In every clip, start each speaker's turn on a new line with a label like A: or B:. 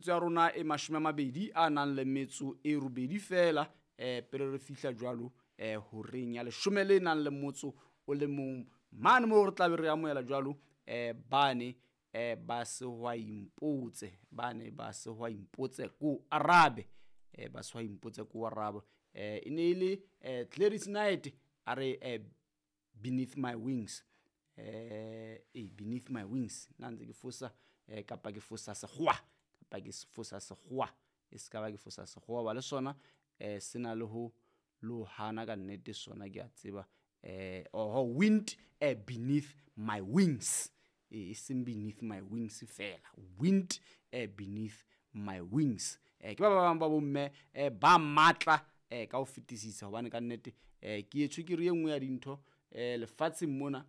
A: Ya rona e 28 a nang le metso e 8 feela pele re fihla jwalo horeng ya 10 le nang le motso o le mong mane moo re tla be re amohela jwalo bane ba Sehwai Mpotse, bane ba Sehwai Mpotse ko arabe, ba Sehwai Mpotse ko arabe. E ne e le Gladys Knight a re Beneath My Wings, Beneath My Wings nna ntse ke fosa kapa ke fosa sekgowa, kapa ke fosa sekgowa, e se ka ba ke fosa sekgowa ba le sona se na le ho lo hana ka nnete sona ke a tseba. Oho, Wind Beneath My Wings, e seng Beneath My Wings fela, Wind Beneath My Wings. Ke ba bang ba bomme ba matla ka ho fetisisa, hobane ka nnete ke etswe ke re e nngwe ya dintho lefatsheng mona.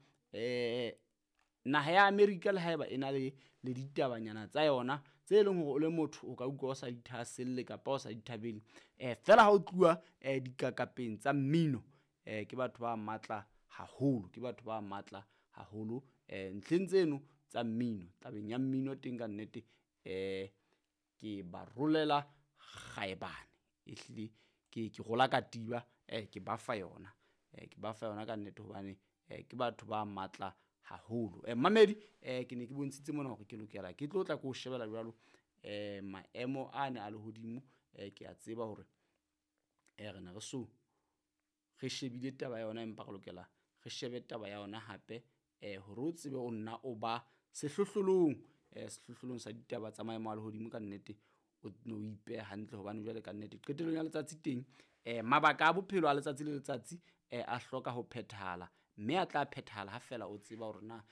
A: Naha ya Amerika le haeba e na le ditabanyana tsa yona tse leng hore o le motho o ka utlwa o sa di thahaselle kapa o sa di thabele, feela ha o tluwa dikakapeng tsa mmino, ke batho ba matla haholo, ke batho ba matla haholo ntlheng tseno tsa mmino. Tabeng ya mmino teng ka nnete ke ba rolela kgaebane, ehlile ke rola katiba, ke ba fa yona, ke ba fa yona ka nnete hobane ke batho ba matla haholo. Mamedi, ke ne ke bontshitse mona hore ke lokela ke tlo tla ke o shebela jwalo maemo a ne a lehodimo. Ke a tseba hore re ne re so re shebile taba ya yona, empa re lokela re shebe taba ya yona hape hore o tsebe o nna o ba sehlohlolong, sehlohlolong sa ditaba tsa maemo a lehodimo ka nnete, o no o ipehe hantle hobane jwale ka nnete qetellong ya letsatsi teng mabaka a bophelo a letsatsi le letsatsi a hloka ho phethahala, mme a tla phethahala ha fela o tseba hore na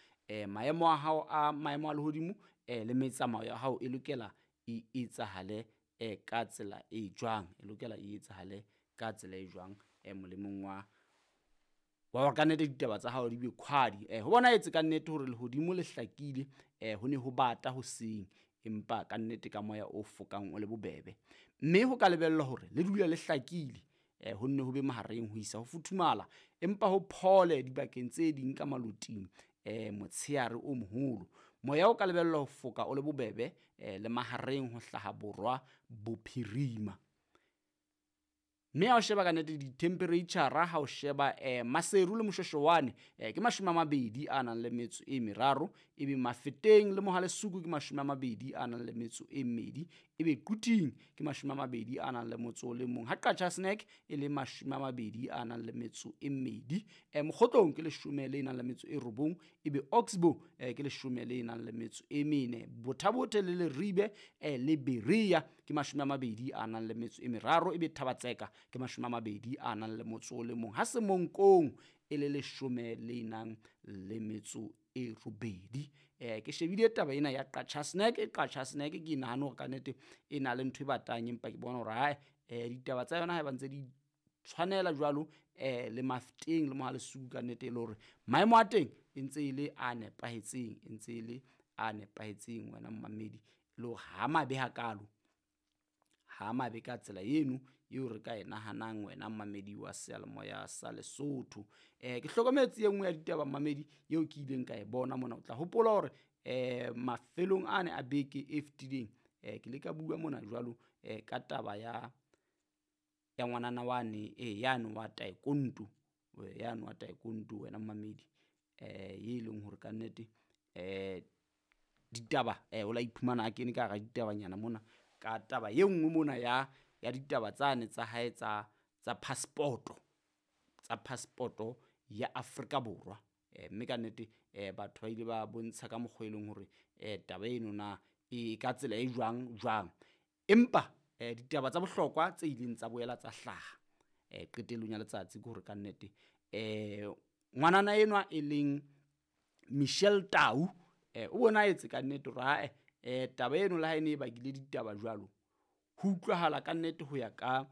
A: maemo a hao a maemo a lehodimo le metsamao ya hao e lokela e etsahale ka tsela e jwang, e lokela e etsahale ka tsela e jwang molemong wa hore ka nnete ditaba tsa hao di be khwadi. Ho bonahetse ka nnete hore lehodimo le hlakile, ho ne ho bata hoseng, empa ka nnete ka moya o fokang o le bobebe, mme ho ka lebellwa hore le dule le hlakile, ho nne ho be mahareng ho isa ho futhumala, empa ho phole dibakeng tse ding ka maloting motsheare o moholo. Moya o ka lebellwa ho foka o le bobebe le mahareng ho hlaha borwa bophirima. Mme ha o sheba ka nnete di-temperature, ha o sheba Maseru le Moshweshwane ke 23 a nang le metso e 3, ebe Mafeteng le Mohalesuku ke 21 a nang le metso e 2, ebe Quthing ke 21 a nang le motso o le mong, ha Qacha's Nek e le 20 a nang le metso e 2, Mokgotlong ke 10 le nang le metso e 9, ebe Oxbow ke 10 le nang le metso e 4, Bothabothe le Leribe le Berea ke 22 a nang le metso e 3, ebe Thabatseka ke 22 a nang le motso o le mong, ha Semonkong e le 10 le nang le metso e 8. Ke shebile taba ena ya Qacha's Nek, Qacha's Nek ke nahana hore ka nnete e na le ntho e batang, empa ke bona hore hae ditaba tsa yona ha ba ntse di tshwanela jwalo le Mafeteng le Mohalesuku ka nnete e le hore maemo a teng e ntse e le a nepahetseng, e ntse e le a nepahetseng wena mmamedi, e le hore ha mabe hakalo, ha mabe ka tsela eno eo re ka e nahanang wena mmamedi wa seyalemoya sa Lesotho. Ke hlokometse e nngwe ya ditaba mmamedi eo ke ileng ka e bona mona. O tla hopola hore mafelong ane a beke e fetileng ke le ka bua mona jwalo ka taba ya ngwanana wane yane wa taekwondo, yane wa taekwondo wena mmamedi, e leng hore ka nnete ditaba o la iphumana a kene ka hara ditabanyana mona ka taba e nngwe mona ya ditaba tsane tsa hae tsa passport, tsa passport ya Afrika Borwa. Mme ka nnete batho ba ile ba bontsha ka mokgwa e leng hore taba eno na e ka tsela e jwang jwang. Empa ditaba tsa bohlokwa tse ileng tsa boela tsa hlaha qetellong ya letsatsi ke hore ka nnete ngwanana enwa e leng Michelle Tau o bonahetse ka nnete hore hae taba eno le ha e ne e bakile ditaba jwalo, ho utlwahala ka nnete ho ya ka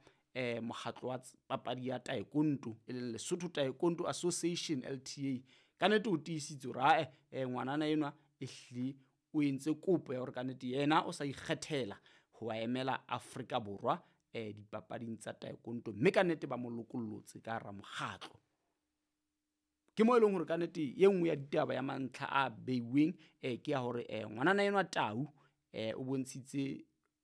A: mokgatlo wa papadi ya taekwondo e leng Lesotho Taekwondo Association LTA, ka nnete o tiisitse hore hae ngwanana enwa ehlile o entse kopo ya hore ka nnete yena o sa ikgethela ho emela Afrika Borwa dipapading tsa taekwondo, mme ka nnete ba mo lokollotse ka hara mokgatlo. Ke mo e leng hore ka nnete e nngwe ya ditaba ya mantlha a beiweng ke ya hore ngwanana enwa Tau o bontshitse